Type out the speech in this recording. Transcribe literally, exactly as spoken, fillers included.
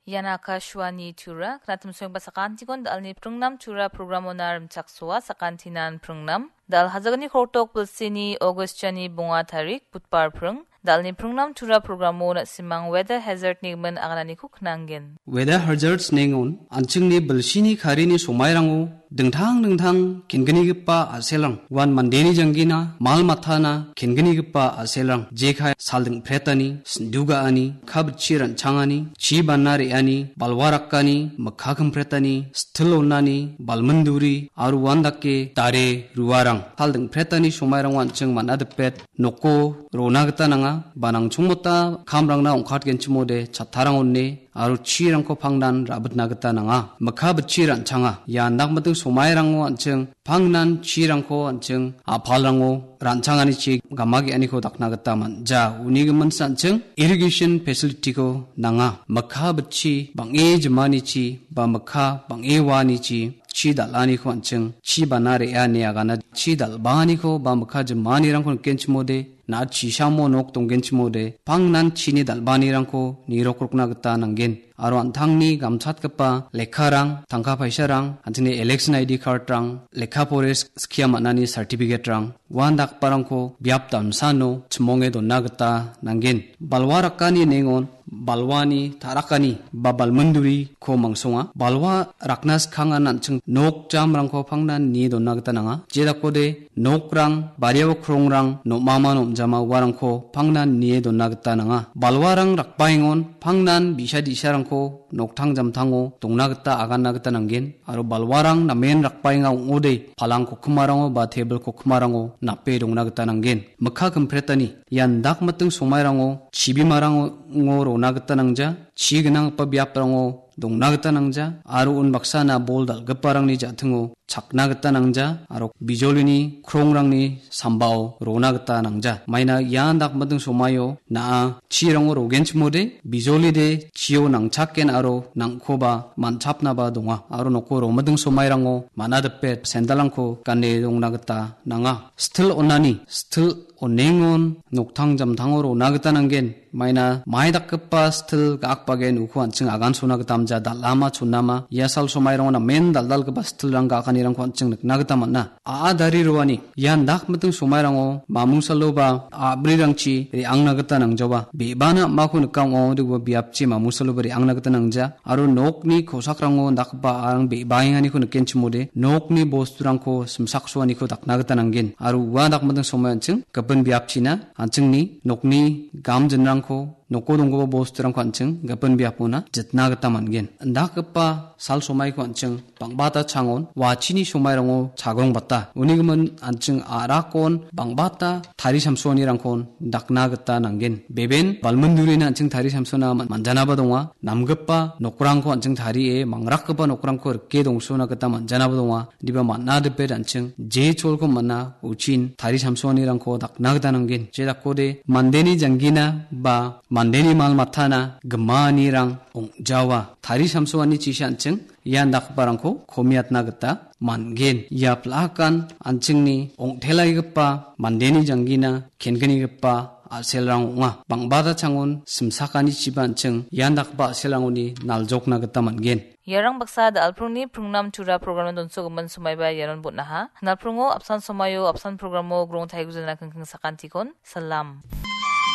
Ian Akashvani Tura, knatim soengba sakantikon dalni pringnam Tura programona rimchaksoa sakantinan pringnam. Dal hajagni kortok bilsini August jani bonga tarik, Budbar pring. Dalni pringnam Tura programo na·simang weather hazard ni gimin agananiko knanggen. Weather hazards nengon, anchingni bilsini karini somairango dingtang dingtang kenginigipa a·selrang, uan mandeni janggina, mal matana kenginigipa a·selrang, jekai saldingpretani, sindugaani, kabitchi ran·changani, chi bana re·ani, balwa rakani, mikka kimpretani, stil onani, balminduri, aro uan dake dare ruarang. Saldingpretani somairango an·ching man·a dipet, noko rona gita nanga, ba nangchongmota kamrangna ong·katgenchimode chattarang one, aro chirangko pangnan rabitna gita nanga. Mikka bitchi ran·changa. Ia indakmiting somairango an·ching pangnan chirangko an·ching a·palrango ran·changanichi gama ge·aniko dakna gita man·ja. Uni giminsa an·ching irrigation facility-ko nanga. Mikka bitchi bang·e jimanichi ba mikka bang·e uanichi chi dal·aniko an·ching chi bana re·a ine agana. Chi dal·baaniko ba mikka jimanirangko nikenchimode na·a chisamo nok donggenchimode pangnan chini dal·baanirangko nirokrokna gita nanggen. Aro an·tangni gamchatgipa lekkarang, tangka paisarang, an·tangni election I D card-rang, lekka pore skia man·ani certificate-rang, uan dakgiparangko biap damsano chimonge dona gita nanggen. Balwa rakani nengon, balwani ta·rakani ba balminduriko mangsonga. Balwa rakna skangan an·ching nok jamrangko pangnan nie dona gita nanga. Jedakode nokrang, bariao krongrang, nom·ama nom·jama uarangko pangnan nie dona gita nanga. Balwarang rakbaengon pangnan bi·sa di·sarangko noktang jamtango dongna gita aganna gita nanggen. Aro balwarang namen rakbaenga ong·ode palang kokkimarango ba tebil kokkimarango nape dongna gita nanggen. Mikka kimpretani ian dakmiting somairango chibimarango rona gita nangja. Chi gnanggipa biaprango dongna gita nangja, aro unbaksana bol dal·giparangni ja·tingo chakna gita nangja, aro bijolini krongrangni sambao rona gita nangja. Maina ia dakmiting somaio na·a chirango rogenchimode, bijolide chio nangchaken aro nangkoba man·chapnaba donga. Aro noko romiting somairango man·a dipe sandalrangko gane dongna gita nanga. Stil onani, stil onengon noktang jamtango rona gita nanggen. Maina mai dakgipa stil ga·akbagen uko an·ching agansona gita amja, dal·ama chonama ia sal somairango namen dal·dalgipa stilrang ga·akanirangko an·ching nikna gita man·a. A·a dari roani ian dakmiting somairango mamungsalo ba a·brirangchi re·angna gita nangjawa. Be·bana am·ako nika ong·a, ong·ode ua biapchi mamungsaloba re·angna gita nangja. Aro nokni kosakrango dakgipa a·arang be·baenganiko nikenchimode, nokni bosturangko simsaksoaniko dakna gita nanggen. Aro ua dakmiting somai an·ching gipin biapchina an·chingni nokni gamjinrangko, noko donggipa bosturangko an·ching gipin biapona jitna gita man·gen. Indakgipa sal somaiko an·ching bang·bata changon, wachini somairango chagongbata. Uni gimin an·ching a·rakon bang·bata tari samsoanirangkon dakna gita nanggen. Beben balmindurina an·ching tari samsona man-, manjanaba donga. Namgipa nokrangko an·ching tarie mangrakgipa nokrangko rike dongsona gita manjanaba donga. Diba man·a dipe an·ching je cholko man·a uchin tari samsoanirangko dakna gita nanggen. Je dakode mandeni janggina ba mandeni mal matana gimanirang ong·jawa. Tari samsoani chisa an·ching ian dakgiparangko komiatna gita man·gen. Ia pil·akan an·chingni ong·telaigipa mandeni janggina kengkenigipa a·selrang ong·a. Bang·bata changon simsakanichiba an·ching ian dakgipa a·selrangoni naljokna gita man·gen. Iarang baksa da·alprongni pringnam tura programna donsogimin somaiba ianon botnaha. Nalprongo apsan somaio apsan programo grong taigujana kengkeng sakantikon. Salam.